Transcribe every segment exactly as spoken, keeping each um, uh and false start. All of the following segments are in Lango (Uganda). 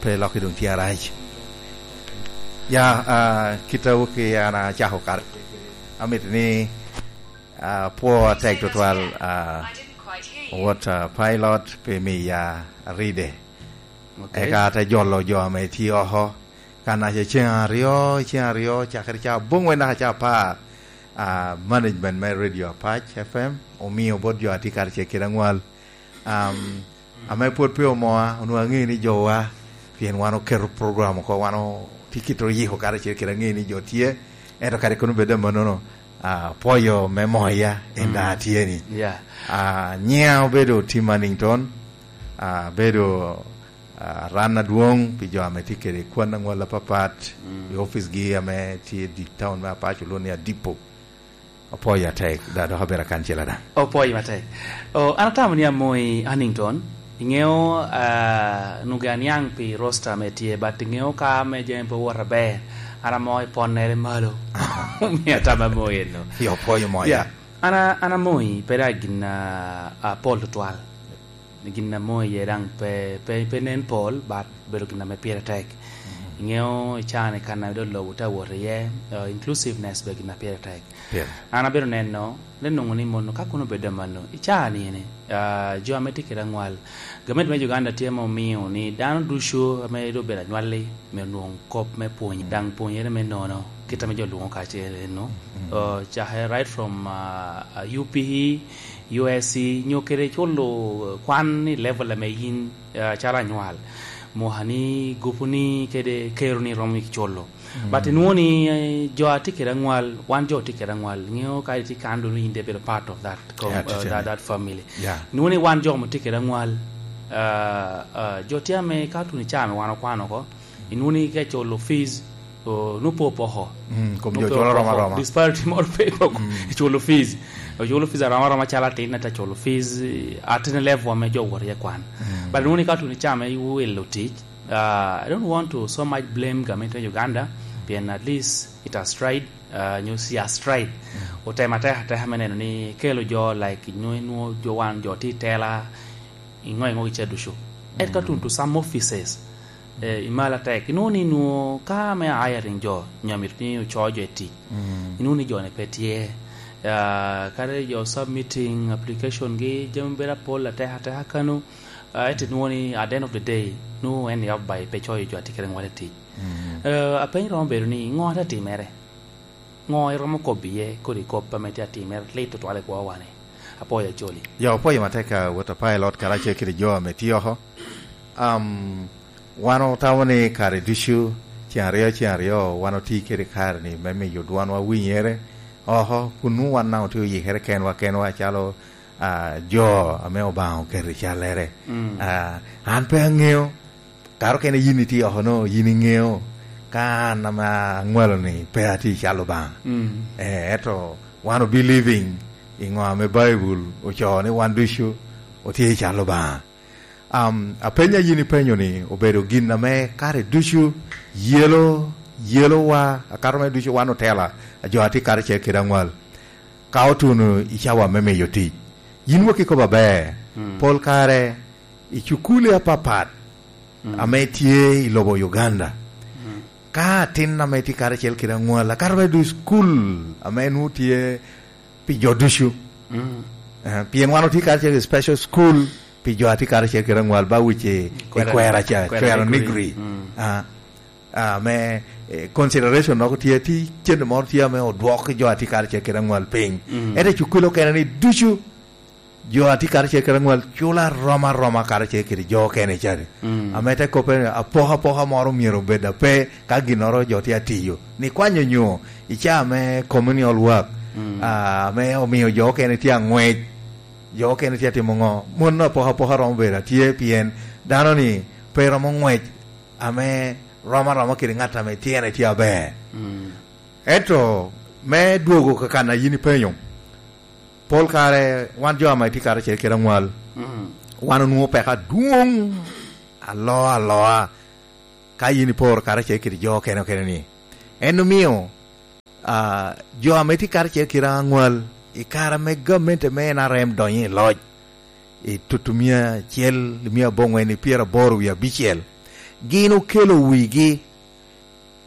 Pe lokke doŋ tye arac. Ya, ah, kit a wok i an acako kare, amito ni, ah, apwo atek tutwal, ah, wot, ah, pilot pi miya ride. Ok. Eka ate jolo jo ame tye oko. Kan aca ceŋ aryo, ceŋ aryo, cakere ca aboŋwen naka ca apar, ah, management me Radio Apac F M omio bot jo a tye karacel kede aŋwal. Am, ame pwod pe omoa, onwoŋo aŋeo ni jowa, pien wan oketo program oko, wan o-, tye kit oyiko karacel kede aŋeo ni jo tye, ento kadi kono bed amannono, ah, apwoyo me moya en daŋ atye ni. Yeah. Ah, nyiŋa obedo Tim Hannington, ah, abedo, ah, ran adwoŋ pi jo ame tye kede kwan aŋwal apapat i oficgi ame tye i town me Apac, olwoŋo ni Adipo. Apwoyo atek, da dok abedo akancela daŋ. Opwoyo matek. O, an atamo ni amoyi Hannington, iŋeo, ah, nwoŋo aniaŋ pi roster ame tye, but iŋeo ka ame jami pe owot aber, an amo i ponnere malo. Omio atamo amoyi eno. Yo, opwoyo moya. Yeah. An a-, an amoyi, pe daŋ gin, ah, apol tutwal. Gin amoyi iye daŋ pe, pe, pe nen pol, but obedo gin ame pire tek. Mm. Iŋeo i caa-ni kan ame doŋ lobo tye awot iye, uh, inclusiveness be gin a pire tek. Pire. An abedo neno, ni nwoŋo ni mono ka kono obedo amanno, i caa-ni ni, ah, jo ame tye kede aŋwal, gamente me Uganda tye ame omio ni dano ducu ame doŋ obedo anywalli, myero onwoŋ kop me pwony, daŋ pwonyere me nono, kit ame jo lwoŋo kacel eno. Mm. Uh, cakere right from, uh, uh, U P E, U S C, nyo kede culo, uh, kwan i level ame yin, uh, calo anywal. Mwakani, gupuni, kede keroni romo culo. Mm. But inwoŋo ni, eh, jo a tye kede aŋwal, wan jo tye kede aŋwal, ŋeo ka itye kan doŋ in de bedo part of that com-, Yeah, uh, tye that, ni. That family. Yeah. Inwoŋo ni wan jo ame tye kede aŋwal, uh, uh, jo tye ame ka tuno i caa ame wan okwano oko, inwoŋo ni ka iculo fees, o, nwoŋo pe opoko. Mm, kom jo culo aroma aroma. Disparity moro pe poko. Mm. Iculo fees. Oculo fees aroma aroma calo atin, ento aculo fees, eh, at a level ame jo wot iye kwan. Mm. But inwoŋo ni ka tuno i caa ame iwilo tic, uh, I don't want to so much blame gamente me Uganda, pien at least it has tried, uh, nyo she has tried. Mm. Otemo atek ateka me neno ni kelo jo like nyo inwoŋo jo wan jo tye i tela, iŋo iŋo gica ducu. Ento ka tuno to some offices, eh, i malo atek, inwoŋo ni nwoŋo ka me hiring jo, nyo amito ni ocoo jo i tic. Mm. Inwoŋo ni jo-ni pe tye. Ah, kadi jo submitting application gi, jami bedo apol atek ateka kano, ah, ento inwoŋo ni at the end of the day, nwoŋo en ni up by pe coyo jo a tye kede ŋwal i tic. Mm. Eh, apeny romo bedo ni, ŋo ate timere? Ŋo iromo kobo iye kodi kop ame tye atimere lit tutwal i kwowa-ni? Apwoyo Acholi. Ya, apwoyo matek, ah, wot a pilot karacel kede jo ame tye oko. Am, wan otamo ni kare ducu, ceŋ aryo, ceŋ aryo, wan otye kede kare-ni me miyo dwanwa winyere oko, kun nwoŋo wan daŋ otye oyikere kenwa kenwa calo, ah, jo ame Obaŋa oketo i callere. Mm. Ah, an pe aŋeo, kare okene yin itye oko no, yin iŋeo, ka an ame aŋwalo-ni pe atye i cal Obaŋa. Mm. Eh, ento wan o believing i ŋo ame Baibul ocoo ni wan ducu otye i cal Obaŋa. Am, apeny a yin ipenyo-ni obedo gin ame kare ducu yelo, yelowa, akato me ducu wan otela, jo a tye karacel kede aŋwal. Ka otuno i cawa me miyo tic, yin wek ikobo aber, mm, pol kare i cukuli apapat, mm, ame tye i lobo Uganda. Mm. Ka atin ame tye karacel kede aŋwal, akato me dwe cukul ame nwoŋo tye pi jo ducu. Mm. Eh, pien wan otye karacel i special school pi jo a tye karacel kede aŋwal, ba wic i, i kwera, kwera ca, kwera cwero nigri. Nigri. Mm. Ah, ah, me, eh, consideration dok tye, tye cente moro tye ame odwok jo a tye karacel kede aŋwal piny. Mm. Ento i cukul okene ni ducu, jo a tye karacel kede aŋwal culo aroma aroma karacel kede jo okene ca. Mm. Ame te kobbe ni, apokapoka moro myero obed ape ka ginnoro jo tye atiyo. Ni kwanyo nyo i caa me communal work, mm, ah, ame omio jo okene tye aŋwec, jo okene tye atimo ŋo? Mon apokapoka romo bedo atye, pien dano-ni pe romo ŋwec ame rom aroma kede ŋat ame tyene tye aber. Mm. Ento me dwogo ka kan a yin ipenyo, pol kare wan jo ame tye karacel kede aŋwal, mm, wan onwoŋo peko adwoŋ aloa aloa ka yin iporo karacel kede jo okene okene ni. En omio, ah, jo ame tye karacel kede aŋwal i kare ame gamente me N R M donyo i loc, i tutu mia acel, mia aboŋwen i pyeraboro wie abicel, Gin okelo wigi,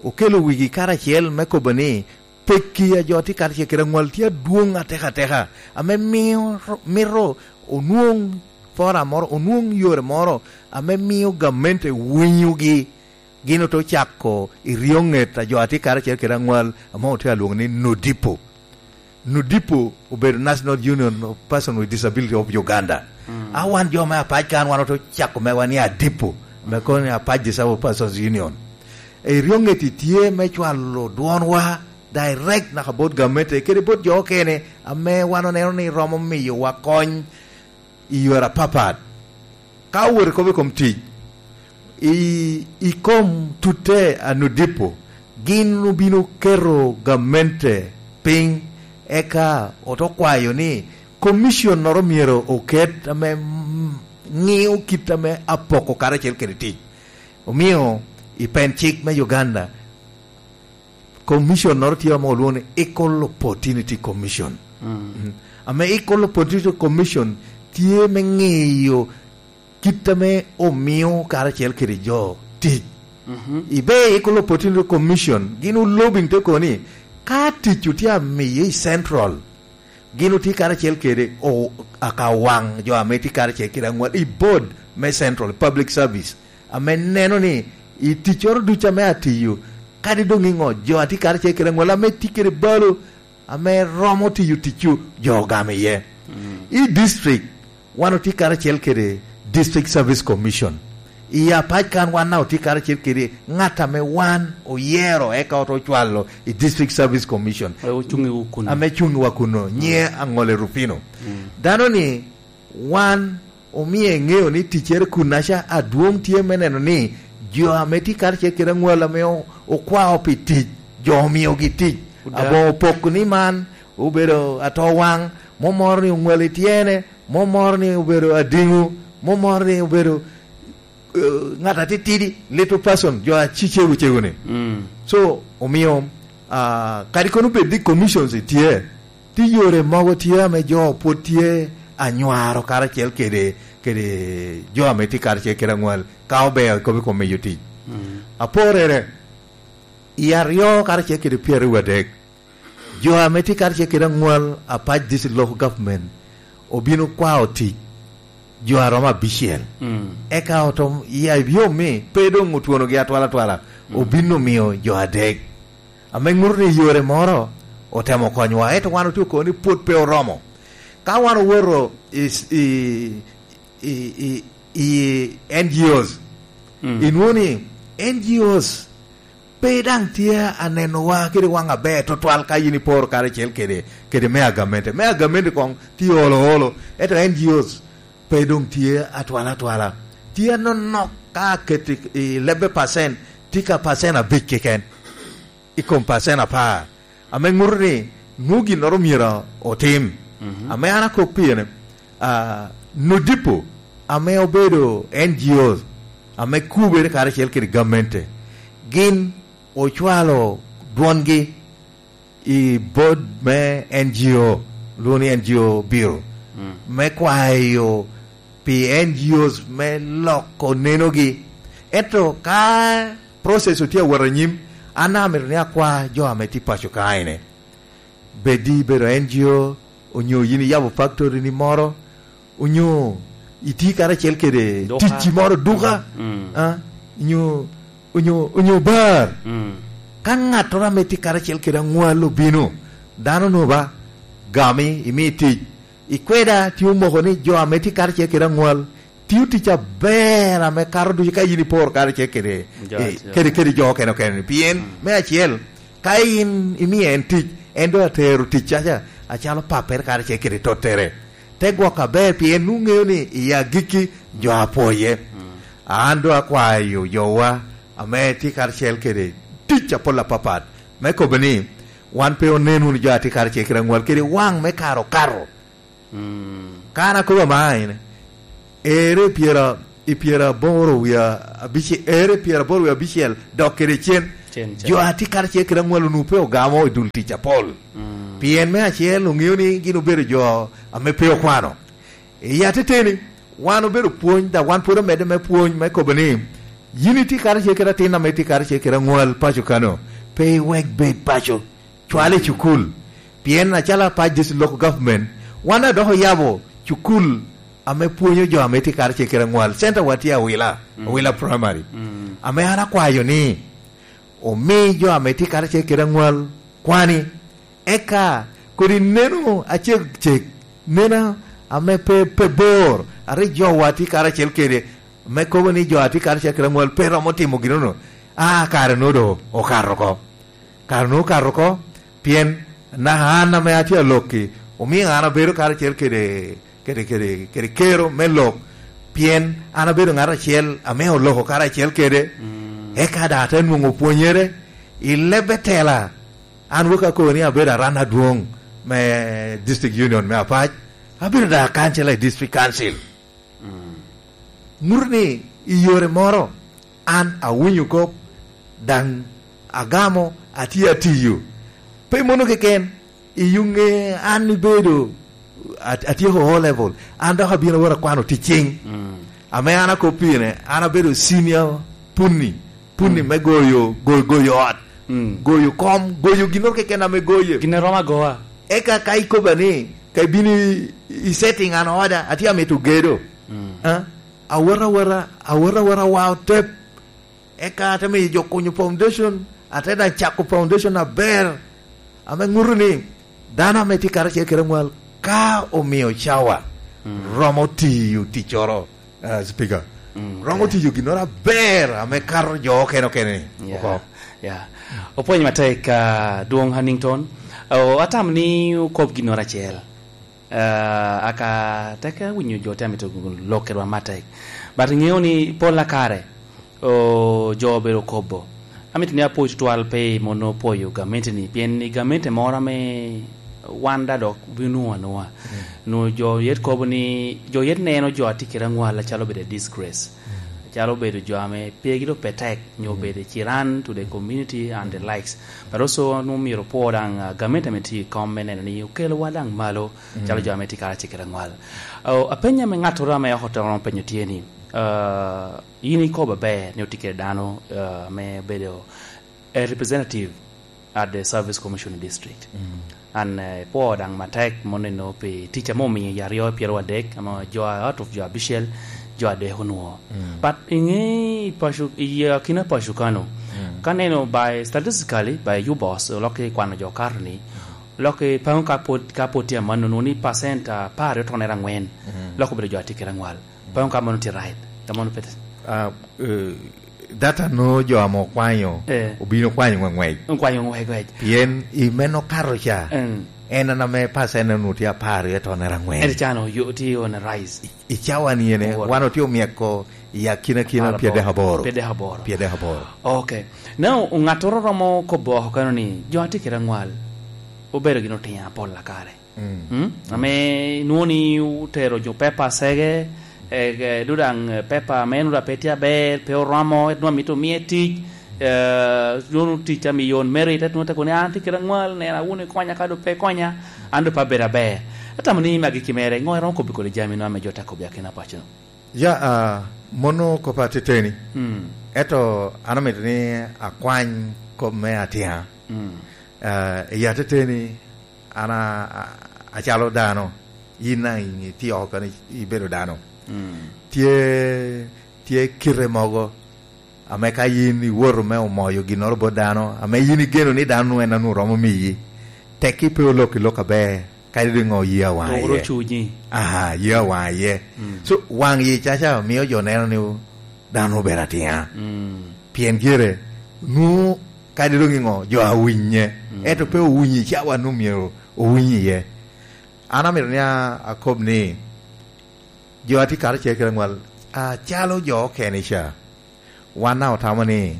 okelo wigi karacel me kobo ni pekki a jo tye karacel kede aŋwal tye adwoŋ atekateka, ame mio, mito onwoŋ fora moro, onwoŋ yore moro ame mio gamente winyogi. Gin ote ocako i ryoŋet a jo a tye karacel kede aŋwal ame otye alwoŋo ni NODIPO. NODIPO obedo National Union of Persons with Disability of Uganda. Mm. A wan jo me apac kan, wan ote ocako mewa ni ADIPO, me kono ni Apac Disabled Persons Union. I ryoŋet-ti tye me cwalo dwonwa direct naka bot gamente kede bot jo okene ame wan oneno ni romo miyowa kony i yore apapat. Ka owoto i kop i kom tic, i, i kom tutte a NODIPO, gin obino keto gamente piny, eka ote okwayo ni komicionnoro myero oket ame, mm, ŋio kit ame apoko karacel kede tic. Omio i pen cik me Uganda, commission-noro tye ame olwoŋo ni Equal Opportunity Commission. Mm. Mm. Ame Equal Opportunity Commission tye me ŋiyo kit ame omio karacel kede jo tic. Mhm. Ibe i Equal Opportunity Commission, gin olobing te kono ni, ka tic otye amiye i Central, gin otye karacel kede o-, akawaŋ jo ame tye karacel kede aŋwal i board me Central Public Service, ame neno ni i ticcoro ducu ame atiyo, kadi doŋ iŋo, jo a tye karacel kede aŋwal ame tye kede balo, ame romo tiyo ticcu, jo ogamo iye. Mm. I district, wan otye karacel kede District Service Commission. I apac kan wan daŋ otye karacel kede ŋat ame wan oyero eka ote ocwalo i District Service Commission. Ame ocuŋ i kuno. Ame cuŋ wa kuno, mm, nyiŋe Aŋole Rufino. Mm. Dano-ni wan omio eŋeo ni ticcere kunnaca adwoŋ tye me neno ni jo ame tye karacel kede aŋwal ame o-, okwao pi tic, jo omiogi tic. Oda. Aboŋo poko ni man obedo atowaŋ, mom moro ni oŋwal i tyene, mom moro ni obedo adiŋo, mom moro ni obedo, eh, ŋat atitidi, little person, jo a ci cego cego-ni. Mm. So, omio, ah, kadi kono bed ni commissions tye, tye yore mogo tye ame jo pwod tye anywaro karacel kede, kede jo ame tye karacel kede aŋwal, ka obeo kop i kom miyo tic. Mm. Aporere, i aryo karacel kede pyeraryo adek, jo ame tye karacel kede aŋwal apac District Local Government obino kwao tic jo a romo abicel. Mm. Eka otom, i ayom ni pe doŋ otwonogi atwalatwala, mm, obino miyo jo adek. Ame ŋuto ni yore moro otemo konyowa, ento wan otye oko ni pwod pe oromo. Ka wan owoto i, i, i, i, i N G Os, mm, inwoŋo ni N G Os pe daŋ tye anenowa kede waŋ aber tutwal ka yin iporo karacel kede, kede me agamente. Me agamente koŋ tye olo olo, ento N G Os pe doŋ tye atwal atwala. Tye anonok ka aketo i, i lebbe pacent, tye ka pacent abic keken i kom pacent apar. Ame ŋuto ni nwoŋo ginnoro myero otim. Mhm. Ame an akok pire, ah, NODIPO, ame obedo N G O, ame kubere karacel kede gamente, gin ocwalo dwongi i board me N G O, lwongo ni N G O Bureau, mm, me kwayo pi N G Os me loko nenogi. Ento ka process otye awot anyim, an amito ni akwa jo ame tye paco ka ene. Bed ibedo N G O, onyo yin iyabo factory ni moro, onyo itye karacel kede duka, ticci moro, duka, mm, ah, onyo, onyo, onyo bar. Mm. Ka ŋattoro ame tye karacel kede aŋwal obino, dano noba, gami, imi tic. Ikweda tye omoko ni jo ame tye karacel kede aŋwal tiyo tic aber ame kato ducu ka yin iporo karacel kede, jo, eh, acel, kede, kede jo okene okene. Pien, mm, me acel, ka in imio en tic, en doŋ atero ticcaca acalo pappere karacel kede tottere. Te gwok aber, pien nwoŋo ŋeo ni i agikki jo apwoye. Mm. An doŋ akwayo jowa ame tye karacel kede tic apol apapat, me kobo ni wan pe onen wunu jo a tye karacel kede aŋwal kede waŋ me kare okato. Mm. Ka an akobo ama ene, ere pyera, i pyeraboro wie abice-, ere pyeraboro wie abicel dok kede cen, cen, cen, jo a tye karacel kede aŋwal onwoŋo pe ogamo i dul tic apol. Mm. Pien me acel, oŋeo ni gin obedo jo ame pe okwano. I ateteni, wan obedo pwony, dok wan pwod omedde me pwony, me kobo ni, Yin itye karacel kede atin ame tye karacel kede aŋwal paco kano, pe iwek bed paco, cwale i cukul. Pien acalo apac District Local Government, wan adok oyabo cukul ame pwonyo jo ame tye karacel kede aŋwal. Center wa tye Awila, Mm. Awila Primary. Mm. Ame an akwayo ni omi jo ame tye karacel kede aŋwal kwani, eka kodi neno acegceg, neno ame pe, pe bor, a rik jowa tye karacel kede, me kobo ni jo a tye karacel kede aŋwal pe romo timo ginono, a kare-nu doŋ okato oko. Kare-nu okato oko, pien naka an ame atye alok-ki, omio an abedo karacel kede, kede, kede, kede kero me lok, pien an abedo ŋat acel ame oloko karacel kede, Mm. eka daŋ ate nwoŋo pwonyere i lebbe tela. An wok akobo ni abedo aran adwoŋ me District Union me Apac, abedo daŋ akancila i District Council. Mm. Ŋuto ni i yore moro, an awinyo kop, daŋ agamo, atye atiyo. Pe mono keken, i yuŋe an ibedo at-, atyeko O level, an dok abino awot akwano ticing. Mm. Ame an akop pire, an abedo senior punni, punni Mm. me goyo, goyo, goyo ot, Mm. goyo kom, goyo ginnoro keken ame goye. Gin a romo agoa. Eka ka ikoba ni, ka ibino i, i setting an oda, atye amito gedo. Mm. Ah, awota awota, awota awota wa otep. Eka ate miyo jo kunyo foundation, ate daŋ cako foundation aber, ame ŋuto ni dano ame tye karacel kede aŋwal, ka omio cawa, Mm. romo tiyo ticcoro, ah, Speaker. Mm, Romo ok. tiyo ginnoro aber ame kato jo okene okene ni Yeah, oko. yeah. Opwony matek, ah, Dwoŋ Hannington. Oh, atamo ni okob ginnoro acel. Ah, aka tek awinyo jo te amito lok kedwa matek. But iŋeo ni pol a kare, o, jo obedo kobo. Amito ni apwoc tutwal pe mono opwoyo gamente-ni, pien i gamente moro ame wan daŋ dok obino nwoŋo anwoŋa. Mm. Nwoŋo jo yet kobo ni, jo yet neno jo a tye kede aŋwal acalo obedo a disgrace. Mm. Acalo obedo jo ame pegi doŋ pe tek, nyo Mm. obedo ciran to the community and the Mm. likes. But also nwoŋo myero opwo daŋ, ah, gamente ame tye i kom me neno ni okelowa daŋ malo, Mm. calo jo ame tye karacel kede aŋwal. Oh, apenya me ŋattoro ame oko te romo penyo tye ni, ah, yin ikobo aber ni otye kede dano, ah, ame obedo a representative at the Service Commission District. Mm. An, eh, ipwo daŋ matek mono eno pi tic ame omiyo i aryo pyeraryo adek, ame jo a, out of jo abicel, jo adek onwoŋo. Mm. But iŋe i paco, i akina paco kano, Mm. ka neno by statistically, by U B O S, olok i kwano jo kato ni, lok i paŋo ka pwod, ka pwod tye amanno, nwoŋo ni percent apar aryo tone angwen, Mm. lok obedo jo a tye kede aŋwal. Paŋo ka mano tye right, ka mano pe Ah, eh, data no jo ame okwanyo, Eh. obino kwanyo ŋwe-, ŋwec. Okwanyo ŋwe-, ŋwec. Pien i men okato ca, Mm. en an ame percent onwoŋo tye apar aryo tone angwen. En can oyo-, tye on a rise. I, i cawa ni ene, Aboro. wan otye omyeko i akina kina Apar aboro. Pyedek aboro. Pyedek aboro. Pyedek aboro. Ok. Now, ŋattoro romo kobo oko kano ni, jo a tye kede aŋwal, obedo gin otiŋo apol a kare. Mm. Mm? Ame nwoŋo ni otero jo pepa acege, eh, eh, do daŋ, eh, pepa ame nwoŋo pe tye aber, pe oromo, ento nwoŋo amito omiye tic, eh, nwoŋo tic amiyo on merit, ento nwoŋo te kobo ni, "An tye kede aŋwal, nena wunu ikonya, ka do pe ikonya, an do pe abedo aber." Atamo ni magi ki mere, ŋo iromo kobbi kodi jami nwoŋo ame jo te kobbi akina paco? Ya, ah, mono kop ateteni. Mm. Ento an amito ni akwany kop me atiŋa. Mm. Ah, i ateteni, an a, a, acalo dano, yin daŋ itye oko kano ibedo dano. Mm. Tye, tye kite mogo ame ka yin iwoto me omoyo ginnoro bot dano, ame yin igeno ni dano en a nwoŋo romo miyi, tekki pe olok i lok aber, kadi doŋ ŋo ye awaŋ Dok iye. Oro cunyi. Aha, ye awaŋ iye. Mm. So, waŋ yi caca mio jo neno ni dano obedo atiŋa. Mm. Pien gire, nwoŋo kadi doŋ i ŋo, jo a winye. Mm. Ento pe owinyi cawa nwoŋo myero owiny iye. An amito ni a-, akob ni, jo a tye karacel kede aŋwal, acalo jo okene ca, wan daŋ otamo ni,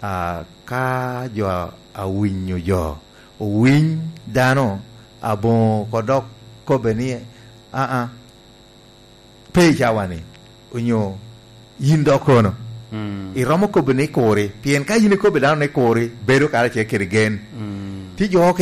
a, ka jo a, awinyo jo, owiny dano, aboŋo ko dok kobbe ni, "Aa, pe i cawa-ni," onyo, "Yin dok kono." Mm. Iromo kobbe ni kuri, pien ka yin ikobbe dano ni kuri, bedo karacel kede gen. Mm. Tye jo